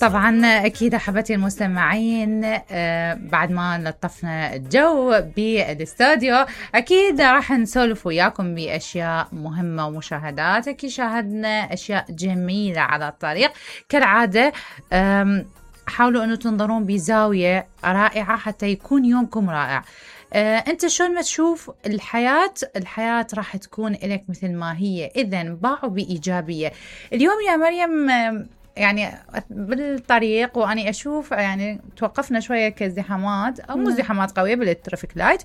طبعا أكيد أحبتي المستمعين، بعد ما لطفنا الجو بالاستوديو أكيد راح نسولف وياكم بأشياء مهمة ومشاهدات. أكيد شاهدنا أشياء جميلة على الطريق كالعادة. حاولوا أنه تنظرون بزاوية رائعة حتى يكون يومكم رائع. أنت شلون ما تشوف الحياة راح تكون لك مثل ما هي. إذن باعوا بإيجابية. اليوم يا مريم يعني بالطريق وأني أشوف يعني توقفنا شوية كازدحامات أو مو ازدحامات قوية بالترافيك لايت،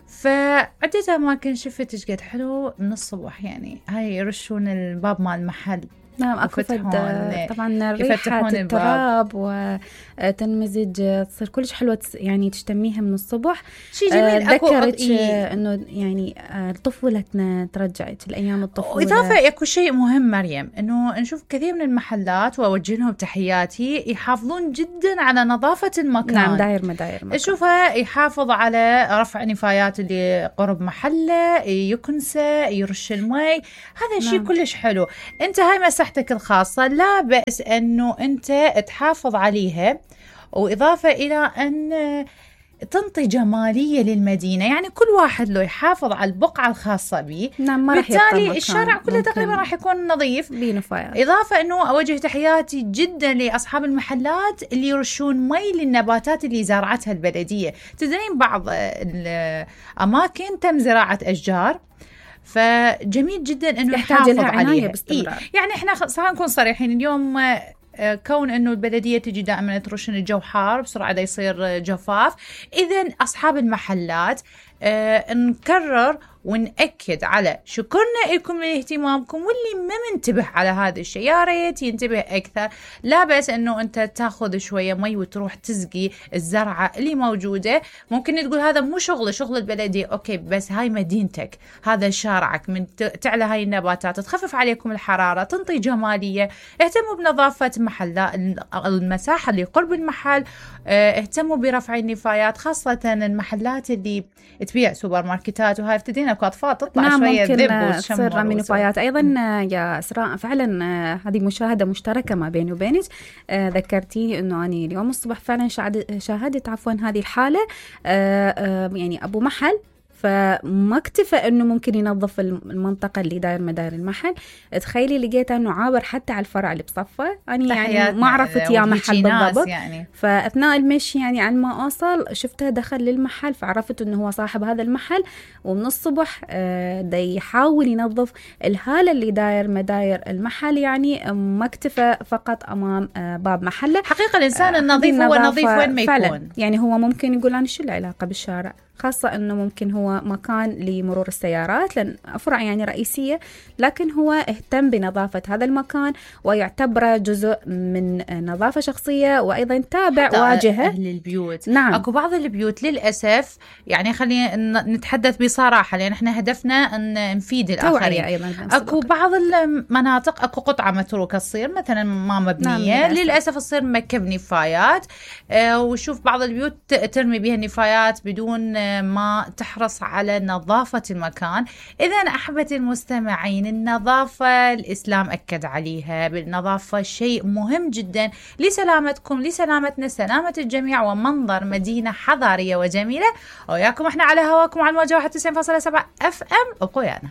فعدة أماكن شفت إيش قد حلو من الصبح. يعني هاي يرشون الباب مال المحل. نعم أكو طبعا ريحة التراب وتنمزج تصير كلش حلوة يعني تشتميها من الصبح. شيء جميل. ذكرت إنه يعني طفولتنا ترجعت الأيام الطفولة. وإضافة أكو شيء مهم مريم، إنه نشوف كثير من المحلات وأوجه لهم تحياتي يحافظون جدا على نظافة المكان. نعم داير مداير شوفها يحافظ على رفع نفايات اللي قرب محله، يكنسه، يرش المي. هذا شيء كلش حلو. أنت هاي مساحتك الخاصة لا بأس أنه أنت تحافظ عليها، وإضافة إلى أن تنطي جمالية للمدينة. يعني كل واحد له يحافظ على البقعة الخاصة به. نعم بالتالي الشارع كله تقريبا راح يكون نظيف. إضافة أنه أوجه تحياتي جدا لأصحاب المحلات اللي يرشون مي للنباتات اللي زرعتها البلدية. تدرين بعض الأماكن تم زراعة أشجار، فجميل جدا انه يحتاج لها عناية باستمرار. يعني احنا خلينا نكون صريحين اليوم، كون انه البلديه تجي دائما ترشن الجو حار بسرعه دا يصير جفاف. اذا اصحاب المحلات نكرر ونأكد على شكرنا لكم لاهتمامكم، واللي ما منتبه على هذا الشيء يا ريت ينتبه أكثر. لا بس أنه أنت تاخذ شوية مي وتروح تسقي الزرعة اللي موجودة. ممكن تقول هذا مو شغل البلدية، أوكي بس هاي مدينتك، هذا شارعك، من تعلى هاي النباتات تخفف عليكم الحرارة، تنطي جمالية. اهتموا بنظافة محلات المساحة اللي قرب المحل، اهتموا برفع النفايات، خاصة المحلات اللي تبيع سوبر ماركتات وهاي ابتدينا كأطفال تطلع نعم شوية ذب تصير رمي نفايات. أيضا يا إسراء فعلا هذه مشاهدة مشتركة ما بيني وبينك. ذكرتيني أنه أنا اليوم الصبح فعلا شاهدت هذه الحالة. يعني أبو محل فما اكتفى انه ممكن ينظف المنطقه اللي داير مداير المحل. تخيلي لقيت انه عابر حتى على الفرع اللي بصفه. انا يعني ما عرفت يا محل بالضبط يعني. فاثناء المشي يعني عن ما اوصل شفته دخل للمحل، فعرفت انه هو صاحب هذا المحل، ومن الصبح دا يحاول ينظف الهاله اللي داير مداير المحل. يعني ما اكتفى فقط امام باب محله. حقيقه الانسان النظيف هو نظيف وين ما يكون. يعني هو ممكن يقول انا شو العلاقه بالشارع، خاصة أنه ممكن هو مكان لمرور السيارات لأن أفرع يعني رئيسية، لكن هو اهتم بنظافة هذا المكان ويعتبر جزء من نظافة شخصية، وأيضا تابع واجهة أهل البيوت. نعم. أكو بعض البيوت للأسف يعني خلينا نتحدث بصراحة لأن احنا هدفنا أن نفيد الآخرين. أيضا أكو بعض المناطق أكو قطعة متروكة تصير مثلا ما مبنية. نعم. للأسف تصير مكب نفايات، وشوف بعض البيوت ترمي بها النفايات بدون ما تحرص على نظافة المكان. إذن أحبتي المستمعين، النظافة الإسلام أكد عليها بالنظافة، شيء مهم جدا لسلامتكم، لسلامتنا، سلامة الجميع، ومنظر مدينة حضارية وجميلة. وياكم احنا على هواكم على الموجة 91.7 FM. ابقوا ويانا.